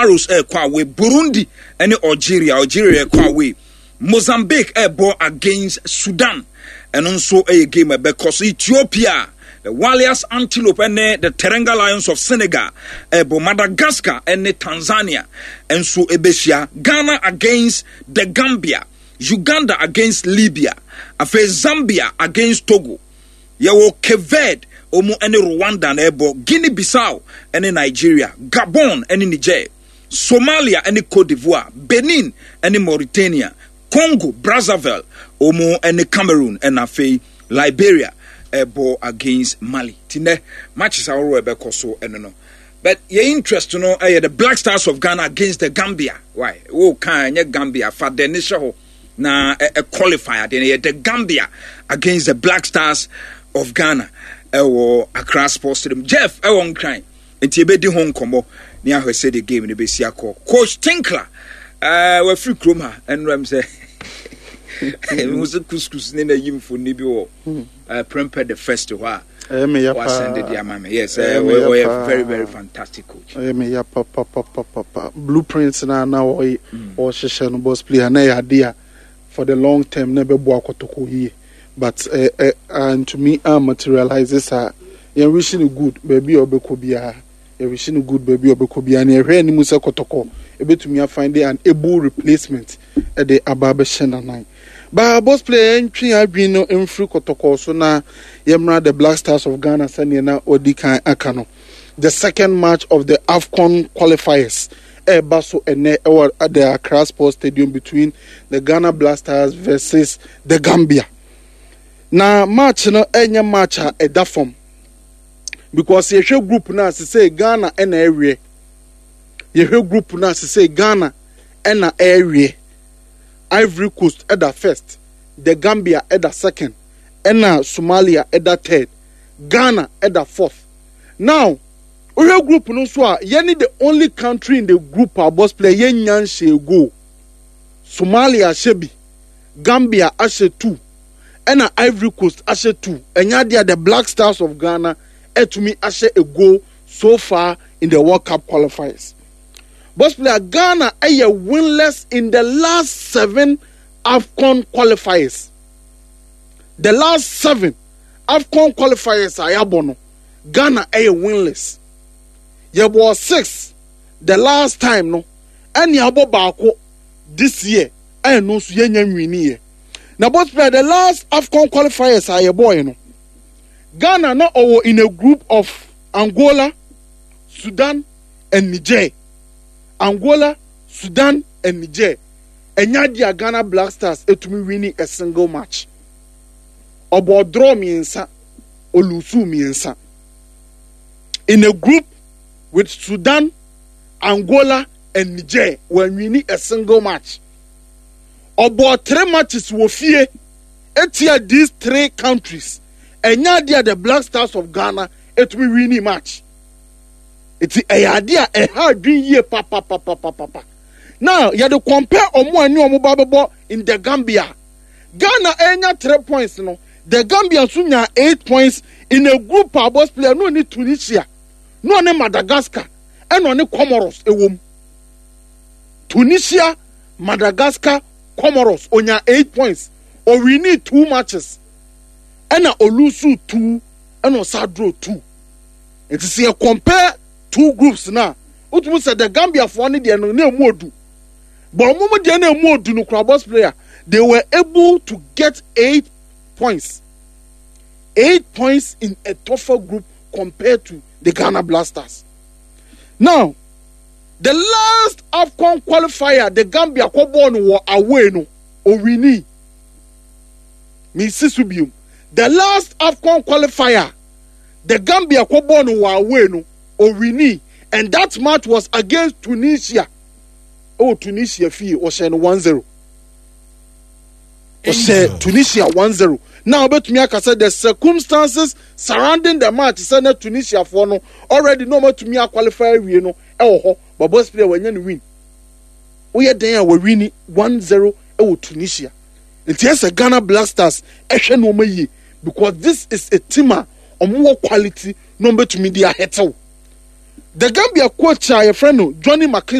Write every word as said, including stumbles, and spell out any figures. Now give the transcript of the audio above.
Pharaohs ɛrekɔ away. Burundi ɛne Algeria, Algeria ɛkɔ away. Mozambique ɛrebɔ against Sudan, ɛno nso ɛyɛ game ɛbɛkɔ so. Ethiopia, the Walias Antelope ɛne the Teranga Lions of Senegal ɛbɔ. Madagascar ɛne Tanzania ɛnso ɛbɛhyia. Ghana against the Gambia, Uganda against Libya, afei Zambia against Togo. Yɛwɔ Cape Verde, ɔmu ɛne Rwanda na ɛbɔ. Guinea Bissau ɛne Nigeria, Gabon ɛne Niger, Somalia ɛne Cote d'Ivoire, Benin ɛne Mauritania, Congo Brazzaville ɔmu ɛne Cameroon, ɛna afei Liberia ɛbɔ against Mali. Ti nɛ matches ahorow ɛbɛkɔ so ɛno no, but yɛ interest no ɛyɛ the Black Stars of Ghana against the Gambia. Why wo kan ɛnyɛ Gambia fa dɛ ne hyɛ hɔ na ɛ qualify adeɛ no yɛ the Gambia against the Black Stars of Ghana ɛwɔ Accra Sports Stadium. Jeff ɛwɔ Nkran, nti ebedi ho nkɔmɔ ne ahwɛ sɛ the game no bɛsi akɔ. Coach Tinkler ɛɛ wafiri kurom ha ɛnura sɛ ehu sɛ couscous ne na yi mfoni bi wɔ ɛɛ Prempeh the First hɔ a wasɛnde de ama me. Yes, ɔyɛ very very fantastic coach. Ɛyɛ me ya papapapapa. Blueprint na na ɔyɛ ɔhyehyɛ no, boss player, na ɛyɛ ade a for the long term na ɛbɛboa Kɔtɔkɔ yie, but ɛ ɛ antumi a materialize saa. Yɛn wish no good baabi a ɔbɛkɔ biara, yɛ wish no good baabi a ɔbɛkɔ biara, na yɛhwɛ anim sɛ Kɔtɔkɔ ebɛtumi afind an able replacement ɛde aba abɛhyɛ nanan baa. Boss player, yɛntwe adwene no mfiri Kɔtɔkɔ so na yɛmmra the Black Stars of Ghana. Sɛneɛ na wɔdi kan aka no, the second match of the AFCON qualifiers ɛreba so ɛnɛ ɛwɔ the Accra Sports Stadium between the Ghana Black Stars versus the Gambia. Na match no ɛnyɛ match a ɛda fam because yɛhwɛ group no a sesɛ Ghana ɛna ɛreɛ, yɛhwɛ group no a sesɛ Ghana ɛna ɛreɛ. Ivory Coast ɛda first, the Gambia ɛda second, ɛna Somalia ɛda third, Ghana ɛda fourth. Now wohwɛ group no nso a, yɛne the only country in the group a, boss player, yɛnya nhyɛ goal. Somalia ahyɛ bi, Gambia ahyɛ two, ɛna Ivory Coast ahyɛ two. Ɛnya adeɛ a the Black Stars of Ghana ɛtumi ahyɛ a goal so far in the World Cup qualifiers. Boss player, Ghana ɛyɛ winless in the last seven AFCON qualifiers. The last seven AFCON qualifiers a yɛabɔ no, Ghana ɛyɛ winless. Yɛbɔ six the last time no, ɛne abɔ baako this year, ɛno nso yɛnya nwiniɛ. Na boss player, the last AFCON qualifiers a yɛbɔɔɛ no, Ghana na ɔwɔ in a group of Angola, Sudan and Niger. Angola, Sudan and Niger. Ɛnya adeɛ a Ghana Black Stars etumi winning a single match. Ɔbɔ draw mmiɛnsa, olose mmiɛnsa. In a group with Sudan, Angola and Niger, wɔn winning a single match. Ɔbɔ three matches wɔ fie etia these three countries. Ɛnya adeɛ a the Black Stars of Ghana etumi winning match. Eti ɛyɛ adeɛ a ɛha adwene yie papapapapapa. Now yɛde compare ɔmo a ne ɔmo ba bɛbɔ in the Gambia, Ghana ɛnya three points no, the Gambia nso nya eight points in a group a, boss player, no ne Tunisia, no ne Madagascar, ɛna ɔne Comoros ɛwɔ mu. Tunisia, Madagascar, Comoros. Onya eight points, owin two matches, ɛna olose two, ɛna ɔsa draw two. Nti sɛ yɛ compare two groups na wotumi sɛ the Gambia foɔ ne deɛ no na emu odu, but ɔmo mo deɛ na emu odu no kora, boss player, they were able to get eight points, eight points in a tougher group compared to the Ghana Black Stars. Now the last AFCON qualifier the Gambia kɔ bɔɔl no wɔ away no, owin. Mi si so biom, the last AFCON qualifier the Gambia kɔ bɔɔl no wɔ away no, owin, and that match was against Tunisia. Ɛwɔ Tunisia fie, ɔhyɛ no one zero. Ɔhyɛ Tunisia one zero. Now ɔbɛtumi aka sɛ the circumstances surrounding the match sɛ na Tunisia foɔ no already na ɔmatumi aqualify awie no ɛwɔ hɔ, but boss player, wɔanya no win. Woyɛ den a wɔwin one zero ɛwɔ Tunisia. Nti ɛsɛ Ghana Black Stars ɛhwɛ nneɛma yie because this is a team a wɔn wɔ quality na wɔn bɛtumi de ahɛtɛw. The Gambia coach a yɛfrɛ no Johnny McKinstry.